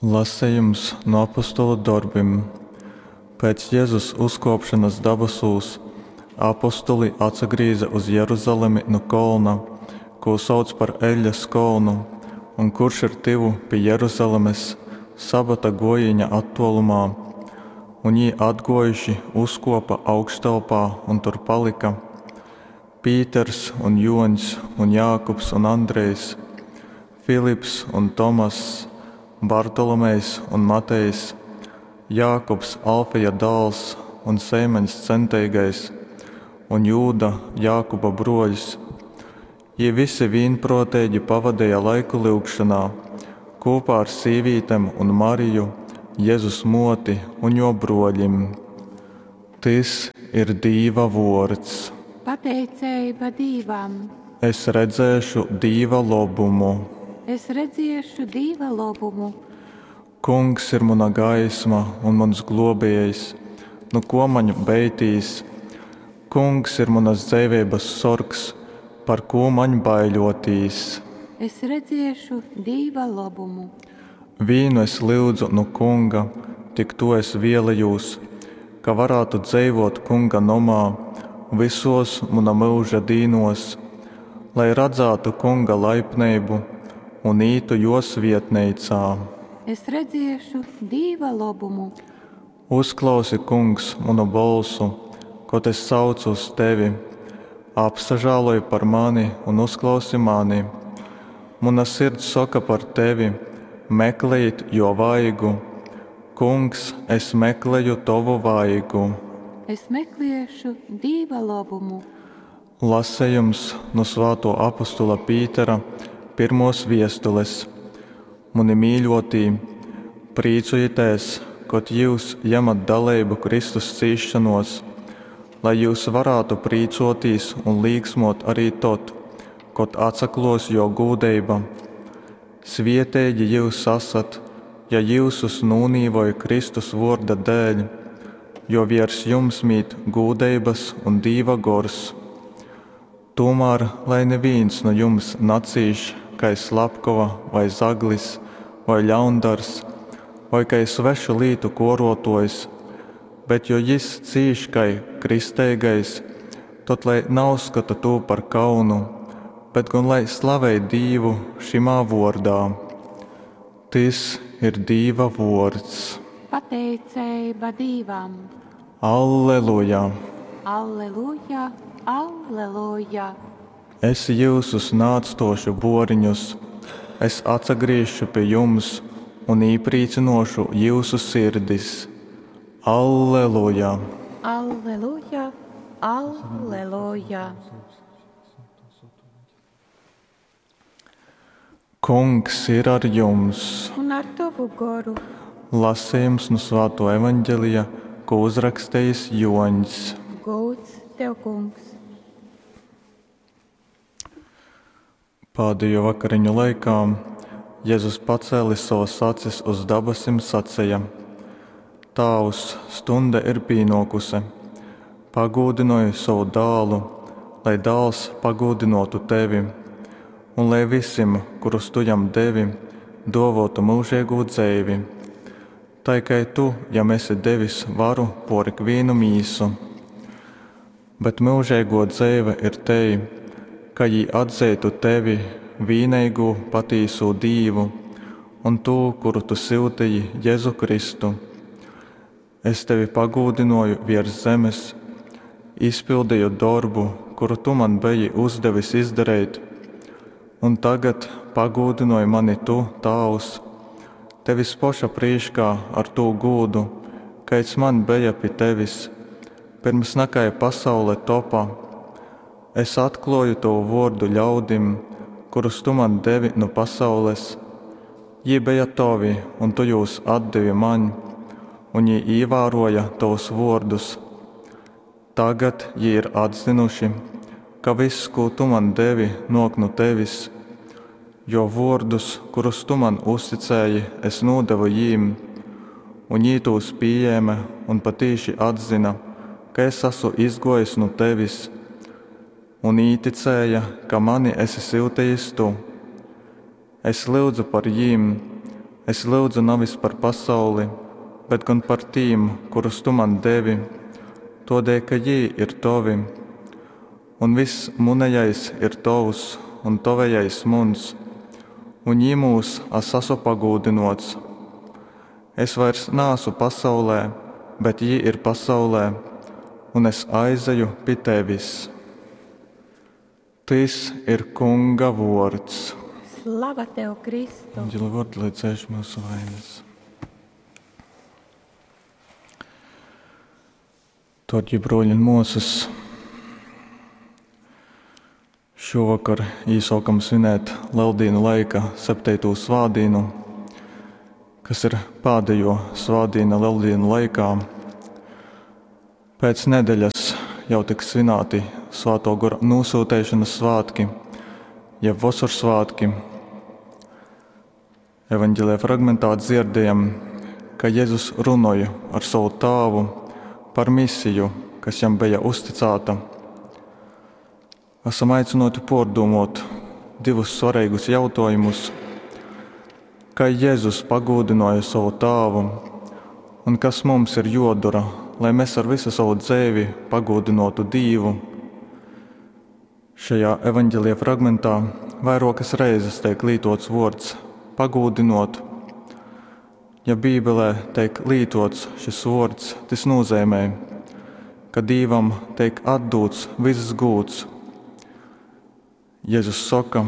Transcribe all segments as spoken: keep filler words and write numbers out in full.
Lasejums nu apostolu dorbim. Pēc Jezus uzkōpšonas dabasūs apostoli atsagrīze uz Jeruzalemi nu kolna, kū sauc par Eļļas kolnu un kurš ir tyvu pi Jeruzalemes, sabata gōjīņa attōlumā. Un jī atgōjuši uzkōpa augštelpā un tur palyka, Pīters un Jōņs un Jākubs un Andrejs, Filips un Tomass, Bartolomejs un Matejs, Jākubs Alfeja dāls un Seimaņs Centeigais, un Jūda, Jākuba brōļs. Jī visi vīnprōteigi pavadeja laiku lyugšonā, kūpā ar sīvītem un Mariju, Jezus mōti un jō brōļim. Tys ir Dīva vōrds. Pateiceiba Dīvam. Es redzēšu Dīva lobumu. Es redziešu Dīva lobumu. Kungs ir muna gaisma un muns glōbējs, nu kō maņ beitīs? Kungs ir munas dzeiveibas sorgs, par kū maņ baiļōtīs? Es redziešu Dīva lobumu. Vīnu es lyudzu nu Kunga, tik tū es vēlejūs, ka varātu dzeivōt Kunga nomā vysōs muna myuža dīnōs, lai radzātu Kunga laipneibu un ītu jō svietneicā. Es redziešu Dīva lobumu. Uzklausi, Kungs, munu bolsu, kod es saucu uz tevi! Apsažāloj par mani un uzklausi mani! Muna sirds soka par tevi, Meklejit jō vaigu! Kungs, es mekleju tovu vaigu. Es mekliešu Dīva lobumu. Lasejums nu svātō apostola Pītera pyrmōs viestules. Muni mīļōtī, prīcojitēs, kod jyus jemat daleibu Kristus cīsšonōs, lai jyus varātu prīcōtīs un līksmōt arī tod, kod atsaklōs Jō gūdeiba. Svieteigi jyus asat, ja jyusus nūnīvoj Kristus vōrda dēļ, jo viers jums mīt gūdeibas un Dīva gors. Tūmār lai nivīns nu jums nacīš kai slapkova vai zaglis, voi ļaundars, voi kai svešu lītu kōrōtōjs, bet jo jys cīš kai kristeigais, tod lai nauzskota tū par kaunu, bet gon lai slavej Dīvu šymā vōrdā. Tys ir Dīva vōrds. Pateiceiba Dīvam. Alleluja! Alleluja, alleluja! Es jyusus naatstōšu bōriņus, es atsagrīzšu pi jums un īprīcynōšu jyusu sirdis. Alleluja! Alleluja, alleluja! Kungs ir ar jums! Un ar tovu goru. Lasejums nu Svātō Evaņgelija, ko uzrakstejis Jōņs. Gūds tev, Kungs! Pādejo vakariņu laikā Jezus pacēlis sovas acis uz dabasim saceja: Tāvs, stunde ir pīnōkuse, pagūdynoj sovu dālu, lai dāls pagūdynōtu tevi, un lai visim, kurus tu jam devi, dōvōtu myužeigū dzeivi. Tai kai tu jam esi devis varu pōr ikvīnu mīsu. Bet myužeigō dzeive ir tei, ka jī atzeitu tevi, vīneigū patīsū Dīvu, un tū, kuru tu syuteji, Jezu Kristu. Es tevi pagūdynōju viers zemes, izpildeju dorbu, kuru tu man beji uzdevis izdareit. Un tagad pagūdynoj mani tu, Tāvs, tevis poša prīškā ar tū gūdu, kaids man beja pi tevis, pyrms nakai pasaule topa. Es atklōju tovu vōrdu ļaudim, kurus tu man devi nu pasaules. Jī beja tovi, un tu jūs atdevi maņ, un jī īvārōja tovus vōrdus. Tagad jī ir atzynuši, ka viss, kū tu man devi, nōk nu tevis, jo vōrdus, kurus tu man uzticēji, es nūdevu jīm, un jī tūs pījēme un patīši atzyna, ka es asu izgōjis nu tevis, un īticēja, ka mani esi syutejis tu. Es lyudzu par jīm, Es lyudzu navis par pasauli, bet gon par tīm, kurus tu man devi, tōdēļ ka jī ir tovi. Un vyss munejais ir tovs, un tovejais muns, un jymūs as asu pagūdynōts. Es vairs naasu pasaulē, bet jī ir pasaulē, un es aizeju pi tevis. Tys ir Kunga vōrds. Slava tev, Kristu! Eņģeļa vōrdi, lai dzēš myusu vainas. Dārgie broļi un māsas, šovakar īsākam svinēt Lieldienu laika septīto svātdienu, kas ir pēdējo svātdiena Lieldienu laikā. Pēc nedēļas jau tiks svinēti Svētō Gora nosūtēšanas svētki, jeb Vosorsvētki. Evanģelija fragmentā dzirdējam, ka Jēzus runoja ar savu tāvu par misiju, kas jam bija uzticēta. Esam aicināti pārdomāt divus svarīgus jautājumus. Kā Jēzus pagūdināja savu tāvu, un kas mums ir jodara, lai mēs ar visu savu dzīvi pagūdinātu Dievu? Šajā evanģelija fragmentā vairākas reizes tiek lietots vārds pagūdinot. Ja Bībelē tiek lietots šis vārds, tas nozīmē, ka Dievam tiek atdots viss gūts. Jēzus saka,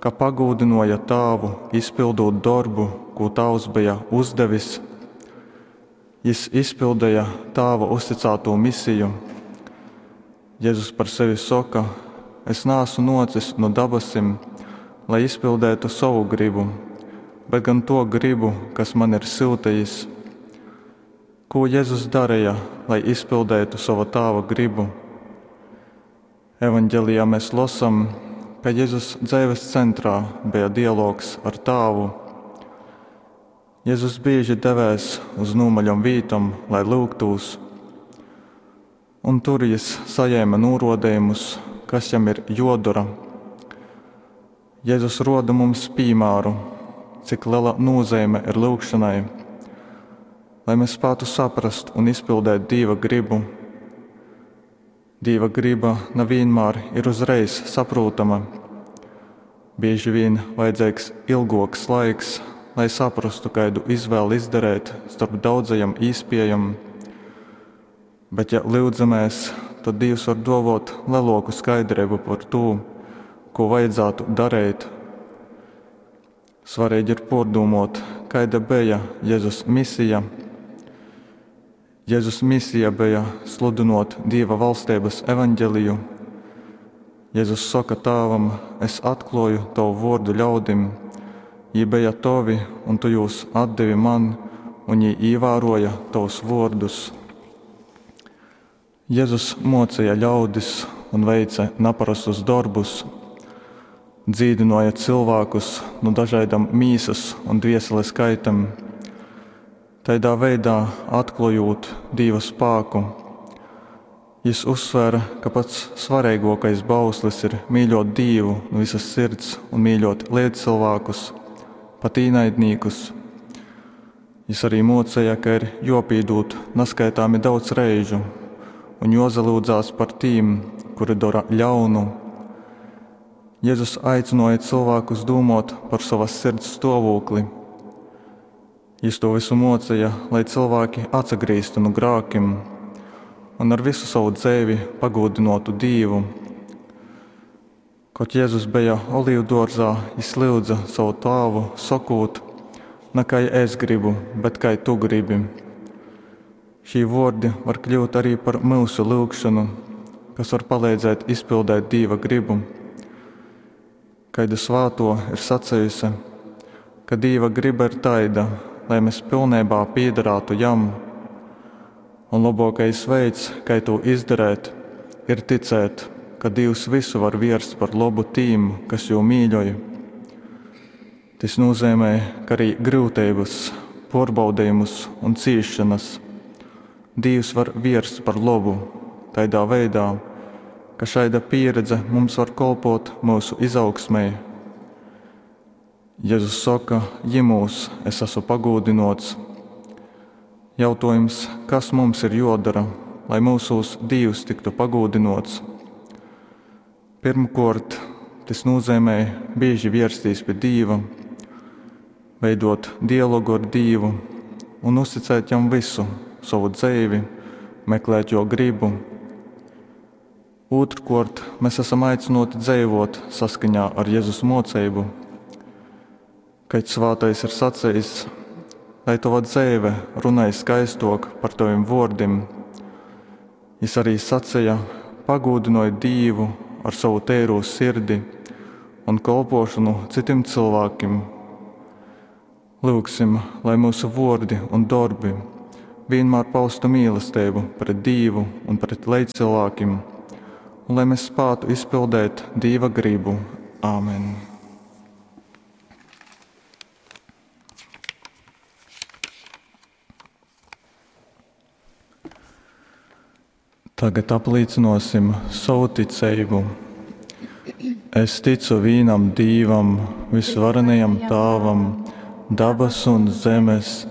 ka pagūdināja tāvu, izpildot darbu, ko tāvs bija uzdevis. Jis izpildīja tāva uzticēto misiju. Jēzus par sevi saka: Es neesmu nocis no dabasim, lai izpildētu savu gribu, bet gan to gribu, kas man ir sūtījis. Ko Jēzus darīja, lai izpildītu sava tāva gribu? Evanģelijā mēs lasām, ka Jēzus dzīves centrā bija dialogs ar tāvu. Jēzus bieži devēs uz nūmaļom vītom, lai lūgtūs, un tur jis saņēma norodījumus, kas jam ir jodara. Jēzus roda mums piemēru, cik liela nozīme ir lūgšanai, lai mēs spētu saprast un izpildīt Dieva gribu. Dieva griba nevienmēr ir uzreiz saprotama. Bieži vien vajadzīgs ilgāks laiks, lai saprastu, kādu izvēli izdarīt starp daudzajam īspējam. Bet, ja lūdzamies, tad Dievs var dovot lielāku skaidrību par to, ko vajadzētu darīt. Svarīgi ir pārdomāt, kāda bija Jēzus misija. Jēzus misija bija sludinot Dieva valstības evaņģeliju. Jēzus saka tāvam: Es atklāju tavu vārdu ļaudim. Jī bija tavi, un tu jūs atdevi man, un jī ievēroja tavus vārdus. Jēzus mocīja ļaudis un veica neparastus darbus, dzīdināja cilvēkus no dažādām mīsas un dvieseles kaitam, tādā veidā atklājot Dieva spēku. Jis uzsvēra, ka pats svarīgākais bauslis ir mīļot Dievu no visas sirds un mīļot līdzcilvēkus, pat īnaidniekus. Jis arī mocīja, ka ir jopīdūt neskaitāmi daudz reižu un jozalūdzās par tīm, kuri dara ļaunu. Jēzus aicināja cilvēkus domāt par savas sirds stāvokli. Jis to visu mocīja, lai cilvēki atsagrīztu no grākiem un ar visu savu dzīvi pagodinātu Dievu. Kad Jēzus bija olīvdārzā, jis lūdza savu tēvu, sakot: Ne kā es gribu, bet kā tu gribi. Šī vārdi var kļūt arī par mūsu lūgšanu, kas var palīdzēt izpildīt Dieva gribu. Kaida svāto ir sacījusi, ka Dieva griba ir taida, lai mēs pilnībā piedarātu jam. Un labākais veids, kā to izdarīt, ir ticēt, ka Dievs visu var vērst par labu tīm, kas jū mīļoja. Tas nozīmē, ka arī grūtības, pārbaudījumus un ciešanas Dievs var vērst par labu tādā veidā, ka šāda pieredze mums var kalpot mūsu izaugsmē. Jezus soka, jimūs es esmu pagūdynōts. Jautōjums, kas mums ir jōdora, lai myusūs Dīvs tyktu pagūdynōts? Pirmkōrt, tys nūzeimej bīži vierstīs pi Dīva, veidot dialogu ar Dīvu un uzticēt Jam vysu sovu dzeivi, meklēt Jō gribu. Ūtrkōrt, mēs esam aicynōti dzeivōt saskaņā ar Jezus mōceibu. Kad svātais ir sacījis, lai tova dzeive runai skaistok par tavim vōrdim. Jis arī saceja, pagūdynoj Dīvu ar savu teirū sirdi un kolpošanu citim cilvēkim. Lyugsim, lai mūsu vōrdi un dorbi vienmēr paustu mīlestību pret Dīvu un pret leidzcilvēkim, un lai mēs spētu izpildēt Dīva gribu. Āmen. Tagad aplīcinosim savu ticību. Es ticu vīnam Dīvam, visvarenajam Tāvam, dabasu un zemes,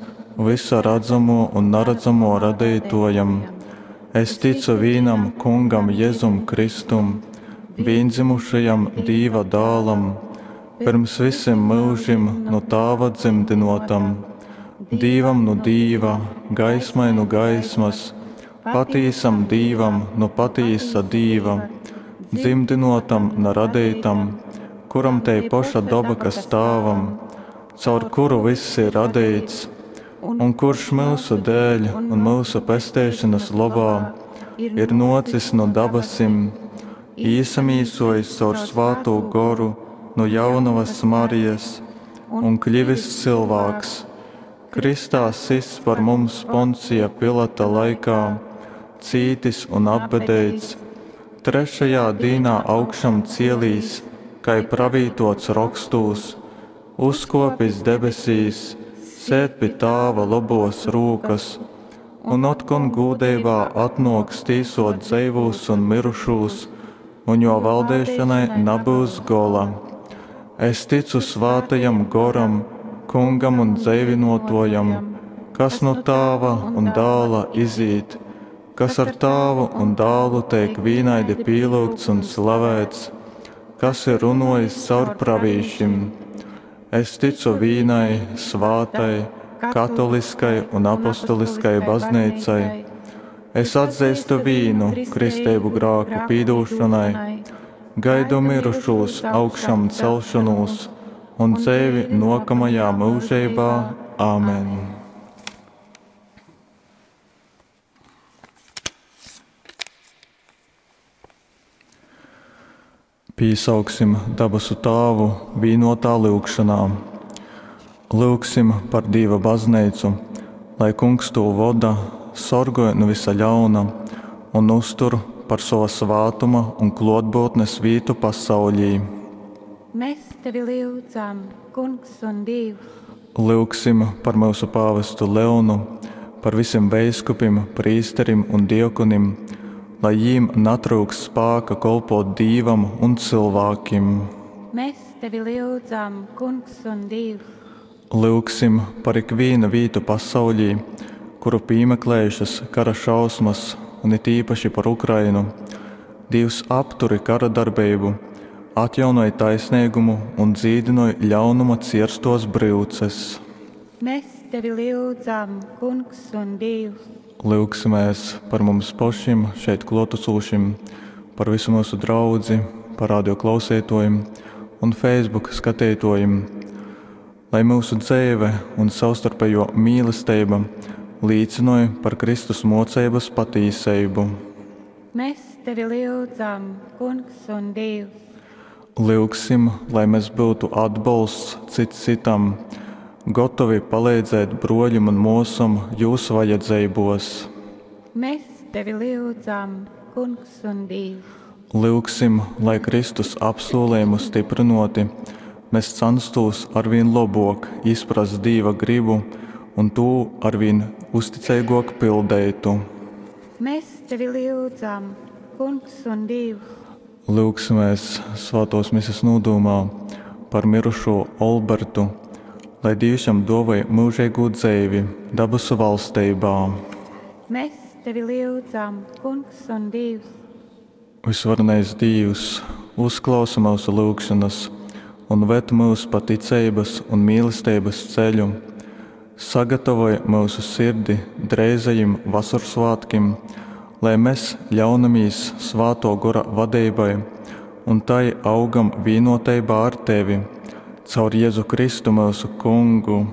visa redzamo un naredzamo radītojam. Es ticu vīnam Kungam Jezum Kristum, vīndzimušajam Dīva dālam, pirms visim mūžim no Tāva dzimdinotam, Dīvam no Dīva, gaismai no gaismas, patīsam Dīvam no patīsa Dīva, dzimdinotam na radītam, kuram tei poša doba, kas Tāvam, caur kuru viss ir radīts, un kurš mūsu dēļ un mūsu pesteišanas labā ir nocis no dabasim, īsamīsojis caur svātū goru no jaunavas Marijas un kļivis cilvēks, Kristā sists par mums Poncija Pilata laikā, cītis un apbedeits, trešajā dīnā augšam cielīs, kai pravītots rakstūs, uzkopis debesīs, sēd pi Tāva lobos rūkas, un otkon gūdeibā atnōks tīsot dzeivūs un mirušūs, un jo valdēšanai nebūs gola. Es ticu svātajam goram, kungam un dzeivinotojam, kas no Tāva un dāla izīt, kas ar Tāvu un dālu teik vīnaidi pīlūgts un slavēts, kas ir runojis caur pravīšim. Es ticu vīnai, svātai, katoliskai un apostoliskai baznīcai. Es atzīstu vīnu kristību grāku pīdūšanai, gaidu mirušūs augšām celšanos un dzēvi nokamajā mūžībā. Āmen! Pīsauksim dabasu Tāvu vīnotā lyugšanā. Lyugsim par Dīva baznīcu, lai Kungs to voda, sorgoj no visa ļauna un uztur par sava svātuma un klotbūtnes vītu pasaulī. Mēs tevi lyudzam, Kungs un Dievs. Lyugsim par mūsu pāvestu Leonu, par visiem veiskupim, prīsterim un diekonim, lai jīm natrūks spāka kolpot Dīvam un cilvēkim. Mēs tevi lyudzam, Kungs un Dievs. Lyugsim par ikvienu vītu pasaulī, kuru piemeklējušas kara šausmas, un it īpaši par Ukrainu. Dievs apturi kara darbību, atjaunoj taisnīgumu un dzīdinoj ļaunuma cierstos bryuces. Mēs tevi lyudzam, Kungs un Dievs. Lyugsimies par mums pašiem, šeit klotasūšiem, par visu mūsu draudzi, par radio klausītojiem un Facebook skatītojiem, lai mūsu dzīve un savstarpējo mīlestība līdzinoja par Kristus mocības patīsību. Mēs tevi lyudzam, Kungs un Dievs. Lyugsim, lai mēs būtu atbalsts cits citam, gotovi palīdzēt broļim un mosam jūsu vajadzībos. Mēs tevi lyudzam, Kungs un Dievs. Lyugsim, lai Kristus apsolījumu stiprinoti, mēs censtos arvien labāk izprast Dieva gribu un to arvien uzticīgāk pildētu. Mēs tevi lyudzam, Kungs un Dievs. Lyugsimies svētos misas nodomā par myrušū Olbertu, lai Dīvs jam duovoj myužeigū dzeivi dabasu valsteibā. Mes tevi lyudzam, Kungs un Dīvs! Vysvarenais Dīvs, uzklausi myusu lyugšonas un ved myus pa ticeibas un mīlesteibas ceļu. Sagatavoj myusu sirdi dreizajim Vosorsvātkim, lai mes ļaunamīs Svātō Gora vadeibai un tai augam vīnōteibā ar tevi. Caur Jezu Kristu, myusu Kungu.